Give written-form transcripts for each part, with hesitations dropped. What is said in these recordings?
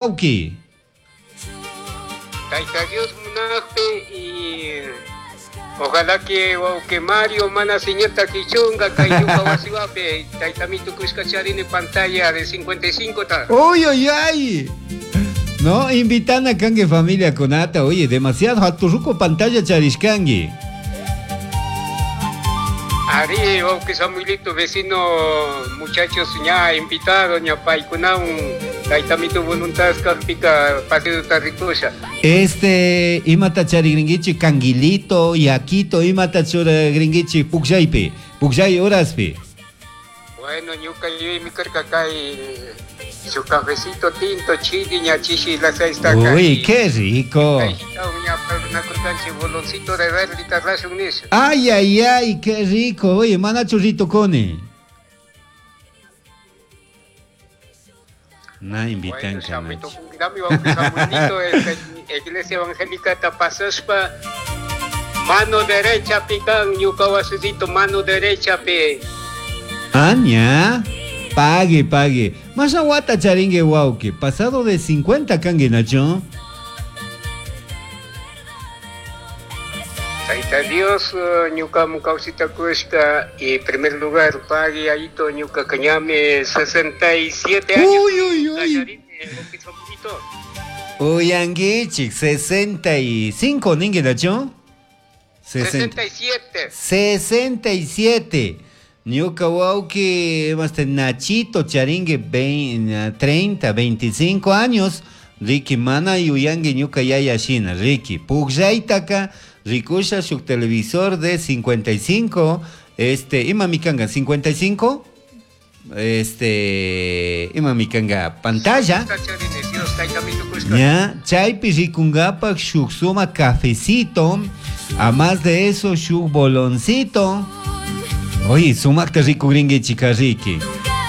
Wawki. Tayta Dios munajpi y ojalá que wawki Mario mana señorta kichunga kay ñuka wasiwapi taytami tukushka charini pantalla de 55 ta. Uy, uy, ay. No, invitana kanki familia kunata. Oye, demasiado haturruco pantalla charishkanki. Ari, wawki Samuelito, vecino, muchachos ña invitado, ña paykunawan taytamitu voluntad kajpika partido rikusha. Este, imata charigringuichi canguilito, yaquito, imata churagringuichi pukllaipi, pukllay horaspi. Bueno, ñuka yuyaymi karka kay su cafecito tinto chili ña chishi las seis Uy, qué rico. Ña parlanakurkanchik boloncito de verde rashun nisha. Ay, ay, ay, qué rico. Oye, mana churrito coni. Na invitan Bueno, shamito kunkinami wawqi Samuelito, este, Iglesia Evangélica tapasashpa mano derecha pican ñuka wasisito mano derecha pi. Aña. Pague, pague. Más aguata charingue wauki. Pasado de 50 kangue nacho. Tayta Dios, ñuka kawsita kushka y primer lugar pague ayito ñuka kañami 67 años. Uy, uy, uy. Uyanguichik, 65, ningue nacho. 67. 67. Ñuka wawki, este Nachito charingue 20, 30, 25 años. Ricky mana yuyangue ñuka yaya shina. Ricky, pukllaytaka rikusha shuk televisor de 55. Este, ima mikanga 55. Este, ima mikanga pantalla. Ya, chaypi rikungapak shuk suma cafecito. A más de eso, shuk boloncito. Oye, sumakta rikugringue chica Ricky.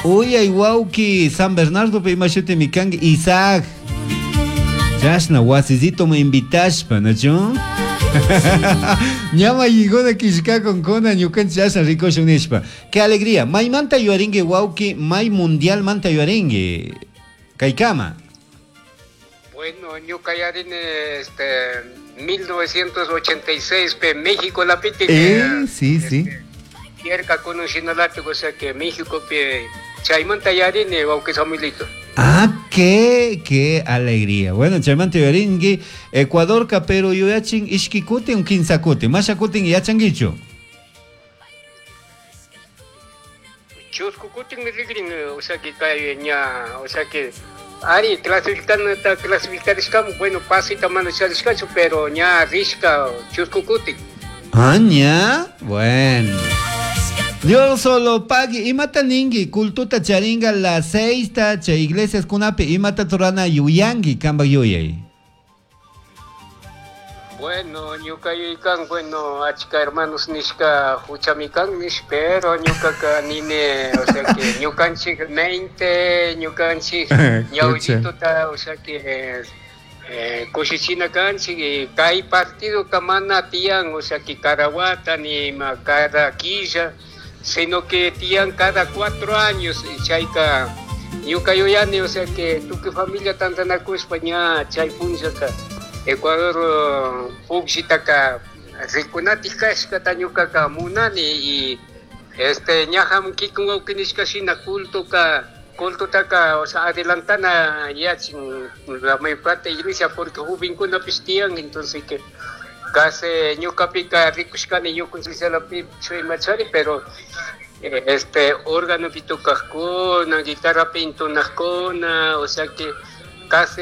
Uy, ay wauki, San Bernardo pe imashute mikangi Isaac. Chashna wasisito me invitashpa, ¿no? Ñama yigona kishka con kona ñukanchik chashna rikushun nishpa. Qué alegría. May manta yuaringue wauki, may mundial manta yuaringue. Kaikama. Bueno, ñuka yarini este 1986 pe México la piti Sí, sí. Yerka kunun shinalati, o sea que México pe chaymanta yarini wawqi Samuelito. Ah, qué alegría. Bueno, chaymanta yuaringue, Ecuador ka pero yuyachin ishki kutin un kinsa kutin, masha kutin yachanguichu. Chusku kutin rigrin, o sea que kay ña, o sea que ari clasifican ta clasificarishkamu, bueno, pasita mana charishkachu, pero ña rishka chusku kutin. Ah, ña, bueno. Dios solo pague. Imata ningi, cultuta charinga la seista, cha iglesias kunapi, imata turana yuyangi, kamba yuyay. Bueno, ñuka yuykan, bueno, achka hermanos nishka huchamikan nish, pero ñuka ka nine, o sea que ñukanchik mente, ñukanchik ñawillituta, o sea que kushichina kanchik, y kay partido kamana tiyan, o sea que cada wata ni ma cada quilla, sino que tiyan cada 4 años, y chayka ñuka yuyani, o sea que tukuy familia tantanakushpa ña chay punllaka Ecuador pukllitaka rikunatik kashkata ñukaka munani, y este ñajam kikun wawqi nishka shina cultoka, cultotaka, o sea, adelantana yachin la mayor parte iglesia porque jovenkunapish tiyan, entonces que casi ñukapika rikushkani ñukunchik chuymachari, pero este órgano tocajkuna, guitarra pintunajkuna, o sea que casi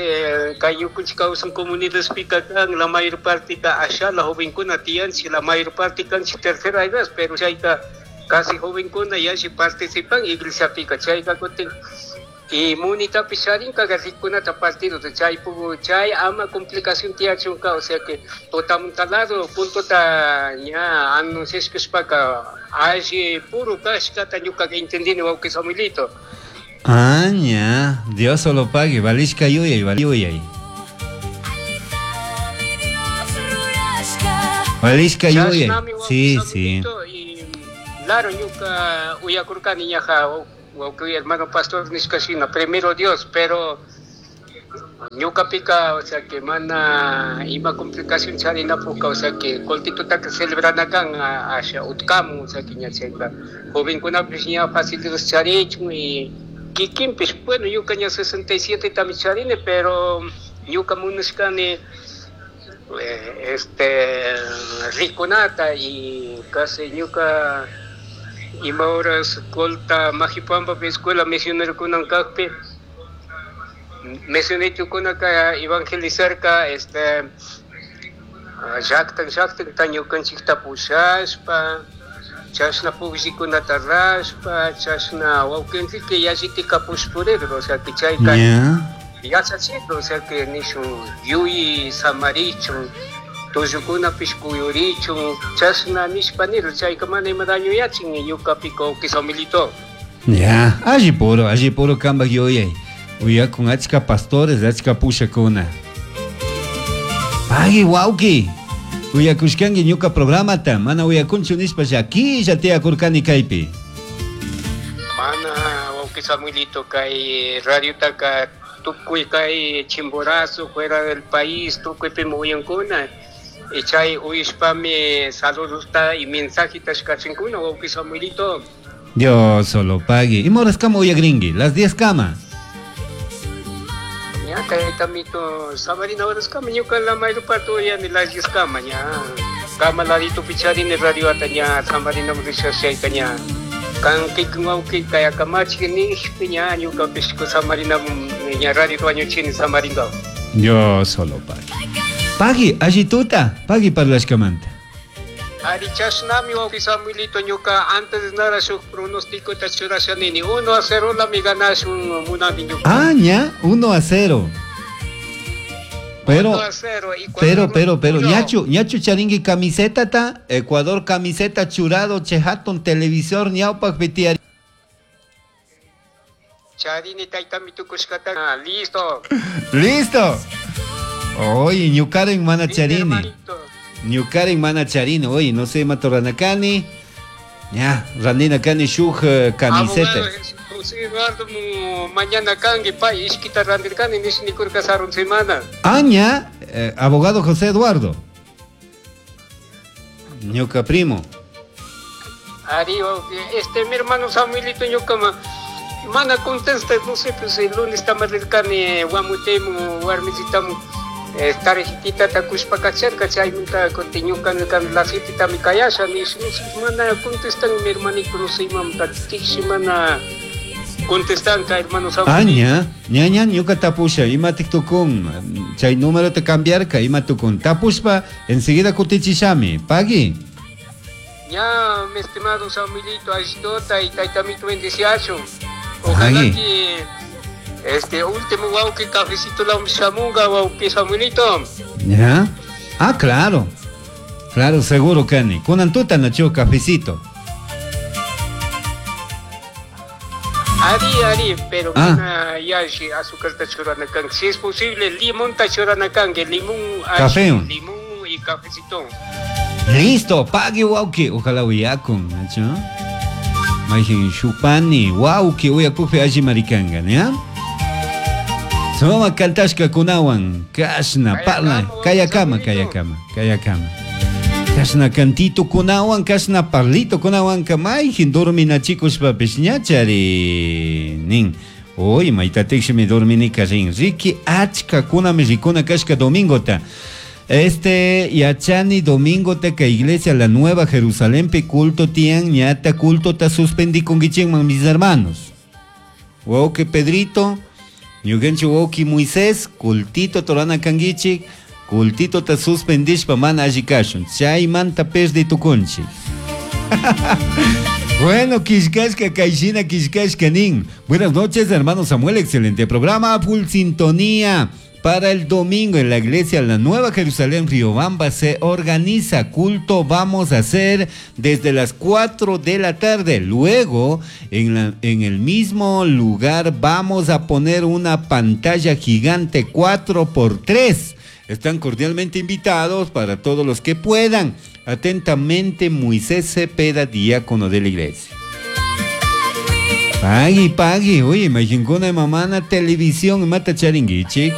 kay ñukunchik kawsan comunidades pika kan, la mayor parte ka allá la jovenkuna tiyanchik, la mayor parte kanchik tercera edad, pero chayka casi jovenkuna yashi participan iglesia pika, chayka kutin y munitapish charinka rikunata partido de chay pugu, chay ama complicación tiyachunka, o sea que totamuntalado cultota ña anunciashkashpaka alli puro kashkata ñukaka entendini wawqi Samuelito. Ah, ña, Dios solo pague, valishka yuyay, yuyay. Valishka yuyay. Chashnami wawqi Sí, sí. Samuelito, y claro, ñuka uyakurkani ñaja, wawqi hermano pastor nishka shina, primero Dios, pero Ñuqapiqa, o sea que mana ima complicación charinapukqa, o sea que qullqitutaka celebrana kan asha utkamun, o sea que ña chayka jovenkunapish ña facilidades charichun y kikinpish, bueno, ñuka ña 67 tami charini, pero ñuka munashkani rikunata y casi ñuka ima horas Colta Majipampa escuela misionerokunan kakpi misionerokunaka evangelizarka llaqtan llaqtan ñukanchikta pushashpa chashna pukllikunata rashpa chashna wawqinchikka yallitika pushpurirka, o sea que chayka yachachirka, o sea que nishun yuyi samarichun tullukunapish kuyurichun chashna nishpa nirka, chayka mana ima daño yachin ñukapika wawqi Samuelito. Ya, alli puro kambak yuyay. Uyakun achka pastores, achka pushakuna. Pagui wawqi. Uyakushkanki ñuka programata, mana uyakunchu nishpa llakilla tiyakurkani kaypi. Mana wawqi Samuelito kay radiotaka tukuy kay Chimborazo fuera del país tukuypimi uyankuna. Y chay uyashpami saludosta y mensajita kachinkunah wawqi Samuelito. Dios solo pagui. ¿Y moras kama uyagringi? Las 10 kama. Ya, taytamito, samarina horas kama ñuka la mayruparto uyani las 10 kama ña. Kama ladito picharini radio ata ña, samarina risha chayta ña. Kan kikin wawqi kaya kamachi nishpi ña ñuka pishku samarina ña radio wañuchini samaringa. Dios solo pagui. Pagui, allituta, pagui parlashkamanta. Ari chashnami wawqi Samuelito ñuka antes nada shuk pronóstico ta churasha nini 1-0 la mi ganashun munani ñuka. Ah, ña, 1-0. Pero, 1-0, y cuando pero, uno ñachu charingui camiseta ta, Ecuador camiseta churado, chehatun televisor, ñaupak betiari. Charini taytami tukushkata, ah, listo. Listo. Oye, ñukaren mana Listo, charini. hermanito. Ñukaren mana charini, oye, no sé, matoranakani. Ya, randina kani shuj camiseta. Abogado José Eduardo, mañana kangi, pay, ishkita randirkani, nish nikurka sarun semana. Aña, abogado José Eduardo. Ñuka primo. Ari, mi hermano Samuelito, ñuka ma, mana contesta, no sé, pues el lunes tamarrirkani, guamutemu, warmisitamu. Tarjetita takushpa kacharka, chaymunta kuti ñuka nirkani la cita mi kayasha, nish, no sé, mana contestan mi hermanito, no sé, mamta, tixi mana contestan ka hermano Samuel. Ah, ña, ña, ña, ñuka tapusha, ima tiktukun, chay número te cambiarka, ima tukun, tapushpa, enseguida kutichishami, pagui. Ña, mi estimado Samuelito, ayudota y taytamito bendeciacho. Ojalá Pagui. que este último wauki cafecito la shamunga wauki Samuelito. ¿Ya? Ah, claro. Claro, seguro, Kani. Kunan tuta nacho cafecito. Ari, ari, pero Ah. mana yashi azúcar ta churana kan. Si es posible, limón ta churana kan, que limón, ashi, Café. limón y cafecito. Listo, pague wauki. Ojalá uyakun, nacho. Majin shupani, wauki uyakufi ashi maricanga, ¿ya? Soma kantashka kunawan, kashna, parla, kayakama, kayakama, kayakama. Kashna kantito kunawan, kashna parlito kunawan, kamayjin dormina chicos papis ñachari nin. Oy, maitatekshimi dorminika rin. Riki achka kunami rikuna kashka domingota. Yachani domingo te que iglesia la Nueva Jerusalén pe culto tian ñata culto ta suspendí con guichengman mis hermanos. Wauke Pedrito, ñukanchik wawki Moisés, cultito torana kangichik, cultito ta suspendishpa mana alli kashun, chaymanta perdi tukunchik. Bueno, Kishkashka, Kaishina, Kishkashka nin. Buenas noches, hermano Samuel, excelente programa, full sintonía. Para el domingo en la iglesia La Nueva Jerusalén, Riobamba, se organiza culto, vamos a hacer desde las 4 de la tarde. Luego, en el mismo lugar vamos a poner una pantalla gigante 4x3. Están cordialmente invitados para todos los que puedan. Atentamente, Moisés Cepeda, diácono de la iglesia. Pagui, pagui. Oye, imagínate una mamá en la televisión, mata charinguichi.